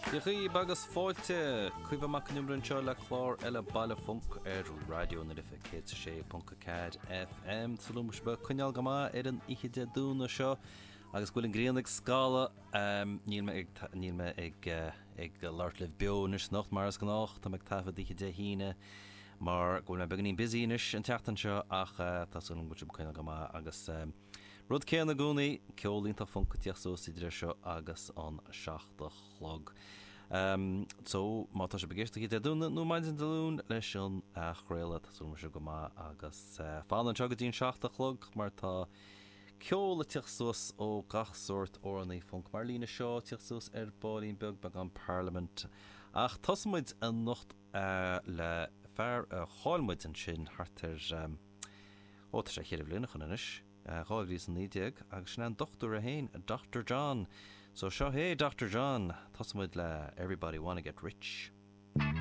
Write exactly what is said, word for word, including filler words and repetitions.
Dia dhaoibh agus fáilte Caoimhe Mac Con Iomaire anseo le clár eile Baile Func ar Raidió na Life céad sé ponc a ceathair FM Súil agam go bhfuil sibh ag coinneáil go maith ar an oíche Dé Domhnaigh seo agus go bhfuil an ghrian ag scalladh níl mé ag níl mé ag ag labhairt libh beo anois anocht mar is gnách tá mé ag taifead oíche Dé hAoine mar go bhfuil mé beagáinín busy anois an tseachtain seo ach tá súil agam go bhfuil sibh ag coinneáil go maith agus Rud céanna i gcónaí ceol iontach func ag tíocht suas idir seo agus an seacht a chlog. Um, so má tá sibh ag éisteacht Dé Domhnaigh nó maidin Dé Luain leis an athchraoladh tá súil go maith agus uh, fan anseo go dtí an seacht a chlog mar tá ceol ag tíocht suas ó gach sórt amhránaí func mar líne seo tíocht suas ar ball beag beag an Parliament. Ach tosóimid anocht uh, le fear a chaill muid ansin thart ar um, ó tá sé ceithre bliana ó shin anois. dhá mhíle is a naoi déag agus sin an dochtúir é féin Dr. John. So seo é Dr. John tosóimid le everybody wanna get rich.